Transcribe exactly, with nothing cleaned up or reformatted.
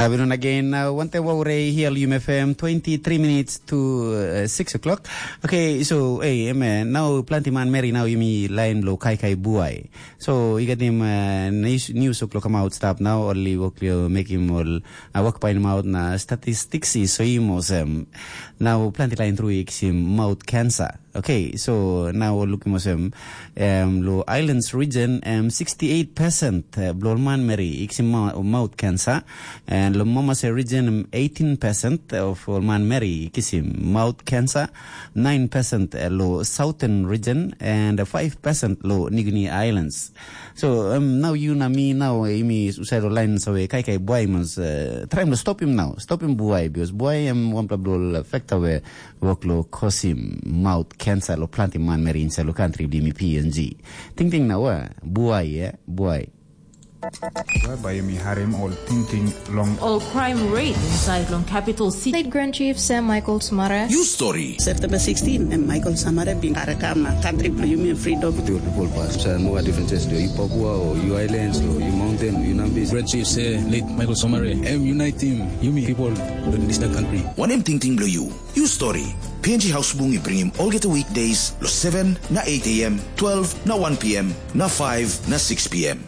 Abinon again, uh, one time over here, Lume F M, twenty-three minutes to uh, six o'clock. Okay, so, hey, man, now planti man meri now yumi line lo kai kai buai. So, you get him uh, news, news o'clock come out stop now, only work you make him all uh, work by him out na statistics is so him was um, now planti line through him mouth cancer. Okay, so now look him was um, um, lo islands region um, sixty-eight percent uh, blo man meri iksim mouth cancer. And lo Momase region, eighteen percent of all man meri kisim mouth cancer, nine percent lo Southern region, and five percent lo New Guinea Islands. So um, now you na me now imi usai lo line so kai kai buai mas uh, try to stop him now, stop him buai because buai em one blo factor where work lo cause him mouth cancer lo planti man meri inside lo country bli mi P N G. Ting ting na wa buai eh buai. Bai yumi harim ol tingting long ol crime rate inside long capital city. State Grand Chief Sam Michael Sumara. You story. September sixteen, em Michael Samara bin karakam na country bilong yumi freedom. With your people pass, so no differences to you Papua or you islands or you mountain, you Nambis. Great chief say late Michael Somare, em unite him, yumi people in this country. Wanem tingting bilong you? You story. P N G House Bung i bringim olgeta weekdays lo seven na eight a m, twelve na one p m, na five na six p m.